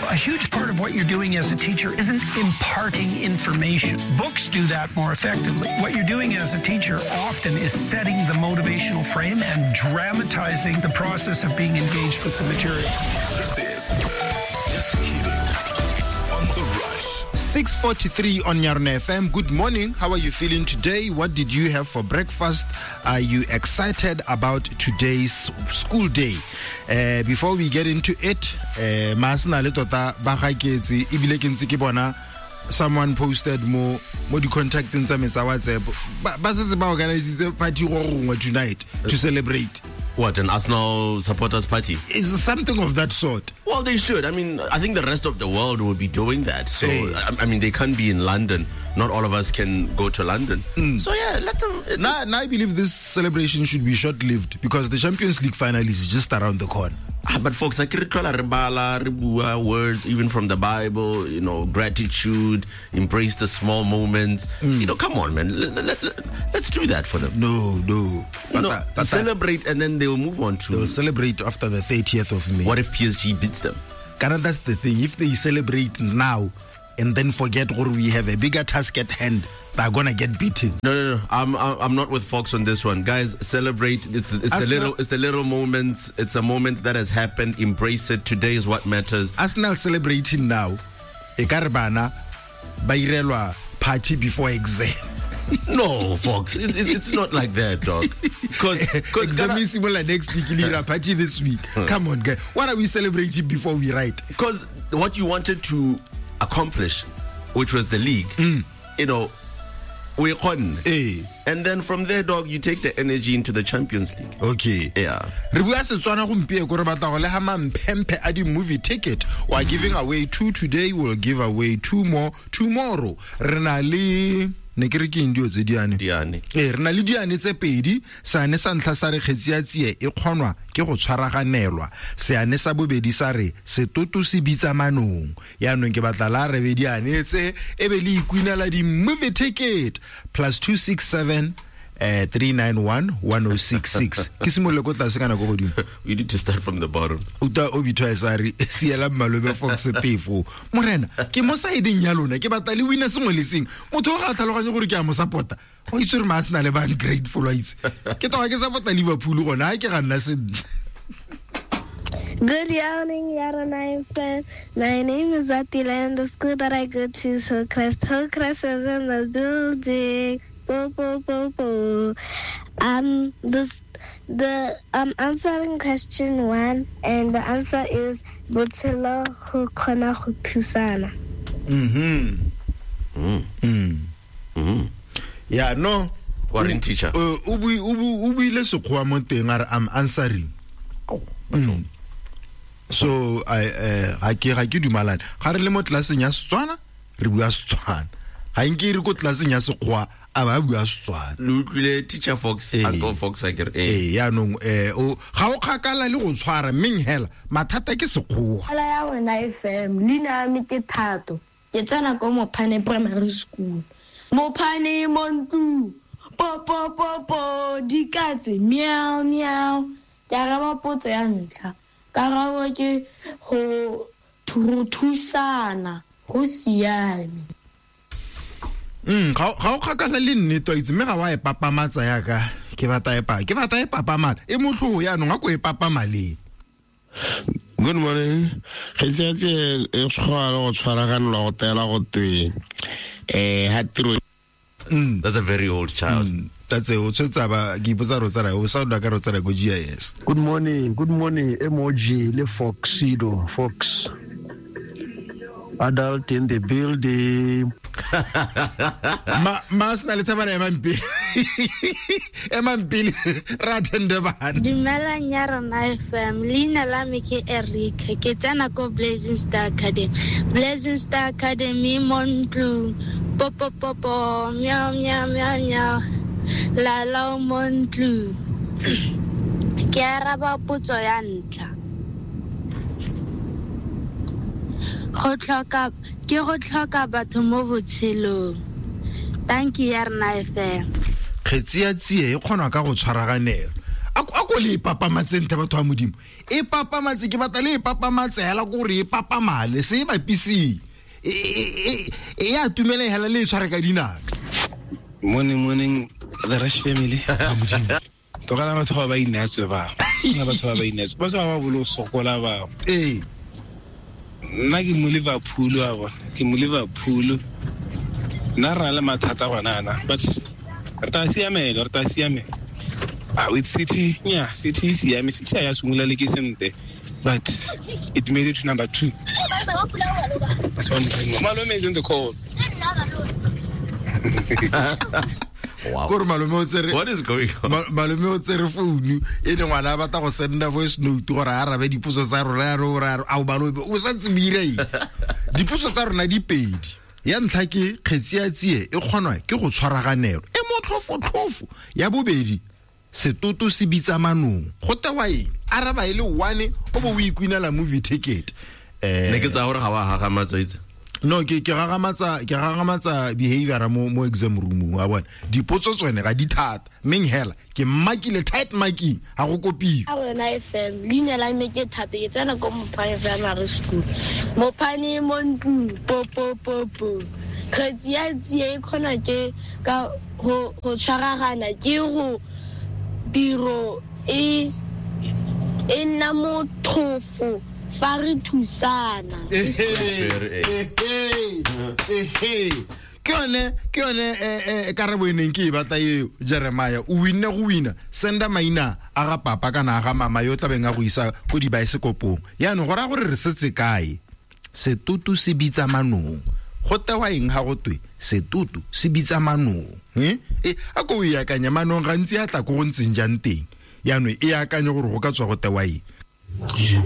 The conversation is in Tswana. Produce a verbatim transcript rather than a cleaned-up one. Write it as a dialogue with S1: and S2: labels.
S1: A huge part of what you're doing as a teacher isn't imparting information. Books do that more effectively. What you're doing as a teacher often is setting the motivational frame and dramatizing the process of being engaged with the material.
S2: This is Just Kidding on The Rush.
S3: six forty-three on Yarona F M. Good morning. How are you feeling today? What did you have for breakfast? Are you excited about today's school day? Uh, before we get into it, uh, Masna le tota ba gaketse ebile ke ntse ke bona someone posted mo mo di contacting tsa metsa WhatsApp. Ba ba setse ba organize party go gongwe tonight to celebrate.
S4: What, an Arsenal supporters party?
S3: Is something of that sort.
S4: Well, they should. I mean, I think the rest of the world will be doing that. So,
S3: hey.
S4: I, I mean, they can't be in London. Not all of us can go to London.
S3: Mm.
S4: So, yeah, let them...
S3: Now, now I believe this celebration should be short-lived because the Champions League final is just around the corner.
S4: Ah, but folks, I words even from the Bible, you know, gratitude, embrace the small moments.
S3: Mm.
S4: You know, come on, man. Let, let, let, let's do that for them.
S3: No, no. But
S4: no,
S3: that, but
S4: celebrate and then they'll move on to...
S3: They'll celebrate after the thirtieth of May.
S4: What if P S G beats them?
S3: Kana, that's the thing. If they celebrate now and then forget or we have a bigger task at hand, they're gonna get beaten.
S4: No, no, no. I'm, I'm not with Fox on this one, guys. Celebrate. It's, it's the little, it's the little moments. It's a moment that has happened. Embrace it. Today is what matters.
S3: Arsenal celebrating now. Ekarbana, bairelwa party before exam.
S4: No, Fox. It, it, it's not like that, dog. Because
S3: exam is similar next week. Lira party this week. Come on, guys. What are we celebrating before we write?
S4: Because what you wanted to accomplish, which was the league,
S3: mm.
S4: you know, we won.
S3: Eh.
S4: And then from there, dog, you take the energy into the Champions League.
S3: Okay.
S4: Yeah.
S3: Re bua Setswana gompieno re batla go le ha mamphemphe a di movie ticket. We are giving away two today. We'll give away two more tomorrow. Re na le ne ke re ke eng dio tse diane?
S4: Diane.
S3: Eh, re na le diane tse pedi. Seane sa ntlha sa re kgetsi ya tsie e kgonwa ke go tshwaraganelwa. Seane sa bobedi sa re setoto se bitsa manong. Yaanong ke batla la re be diane tse e be le ikwinela di movie ticket plus two six seven Uh, three nine one one oh six six. Ke simolole ko tlase kana ko godimo?
S4: We need to start from the bottom.
S3: Uta o bitwa sa re siela malobe Fox tefo. Morena, ke mo saedeng ya lona, ke batla le wina sengwe le sengwe. Motho o ga tlhaloganye gore ke a mo support-a. O itse re ma Arsenal ba ungrateful wa itse. Ke toga ke support-a Liverpool gona, ha ke ga nna sentle.
S5: Good morning, Yarona F M. My name is Atila, and the school that I go to is Hillcrest. Hillcrest is in the building. Bo, bo, bo, bo. Um, this, the I'm answering question one, and the answer is Botshelo go kgona go thusana.
S3: Mhm.
S4: Mm.
S3: Mm.
S4: Mm.
S3: Yeah, no.
S4: Warren teacher.
S3: Uh, o bui o buile sekgowa mo teng a re I'm answering.
S4: Oh.
S3: Mm. So I eh ga ke ga ke dumalane. Ga re le mo tlelaseng ya Setswana, re bua Setswana. Ga nke re ko tlelaseng ya Sekgowa a ba bua Setswana.
S4: Le utlwile teacher Fox,
S3: eh,
S4: Uncle Fox a ke re
S3: eh yaanong eh o ga o kgakala le go tshwara mmeng hela mathata ke Sekgowa.
S6: Ala ya wena F M, leina me ke Thato. Ke tsena ko Mophane Primary School. Mophane mo ntlong. Po po po po dikatse meow meow. Ke araba potso ya ntlha. Karabo ke go thusana go siame.
S3: Mm, ga ga o kgakala le nnete wa itse mme ga wa e papamatsa yaka ke batla e pa ke batla e papamala e motlhogo yaanong a ko e papamaleng.
S7: Good morning. Kgetsi ya tsie e tshwara go tshwaraganelwa go tela go twe eh ha tiro.
S3: Mm.
S4: That's a very old child.
S3: Mm. That's a o tshwetsa ba ke ipotsa re o tsara o sound ka re o tsara ko G I S.
S8: Good morning. Good morning M O G le Foxido Fox. Adult in the building.
S3: Ma ma sna le thabana ema mpele. Ema mpele ra attend bana.
S5: Dumelang ya rona F M. Leina la me ke Erika. Ke tsena ko Blazing Star Academy. Blazing Star Academy mo ntlong. Po po po po meow meow meow meow. La la mo ntlong. Ke araba potso ya ntlha. Go tlhoka ke go tlhoka batho mo botshelong. Thank you ya rona F M.
S3: Kgetsi ya tsie e kgonwa ka go tshwaraganela. A ko ko le e papamatseng the batho ba modimo e papamatse ke batla le e papamatse hela ko gore e papamale se e bapiseng e e a tumele hela le e tshware ka dinaka.
S9: Morning, morning, the Rush family. Tlogela batho ba ba inatswe ba. Nna batho ba ba inatswe. Batho ba ba bolo sokola ba.
S3: Eh.
S9: Nna ke mo Liverpool wa bona. Ke mo Liverpool. Nna re na le mathata gona ana, but re tla siamela, re tla siamela. Ah, with City, yeah, City e siame, City ya simolola le ke sente, but it made it to number two. That's one thing. Malome is in the call.
S4: Wow.
S3: Kore malome o tsere
S4: What is going on?
S3: Malome o tsere founu e ne ngwana a batla go senda voice note gore a arabe dipotso tsa rona ya re o re a o malome o santse o ira eng? Dipotso tsa rona di pedi. Ya ntlha ke kgetsi ya tsie e kgonwa ke go tshwaraganelo e motlhofotlhofo. Ya bobedi setoto se bitsa manong go tewa eng? Araba e le one o bo o ikwinela movie ticket. Eh
S4: ne ke tsa gore ga wa gagamatsa itse.
S3: No ke ke gagamatsa ke gagamatsa behavior mo mo exam room wa bona. Dipotso tsone ga di thata meng hela ke makile tight marking ga go kopiwe.
S6: A rona F M leina la me ke Thato ke tsena ko Mopane Primary School. Mopane mo ntlong po po po po. Kgetsi ya tsie e kgona ke ka go go tshwaragana ke go tiro e e nna mothofo fa re thusana.
S3: Ke yone ke yone karabo e neng ke e batla eo Jeremiah o winne go wina senda maina a ga papa kana a ga mama yo tlabeng a go isa ko dibaesekopong. Yaanong go raya gore re setse kae? Setoto se bitsa manong. Go tewa eng ga go twe setoto se bitsa manong? Eh a ko o e akanya manong gantsi a tla ko go ntseng jang teng. Yaanong e akanye gore go ka tswa go tewa eng.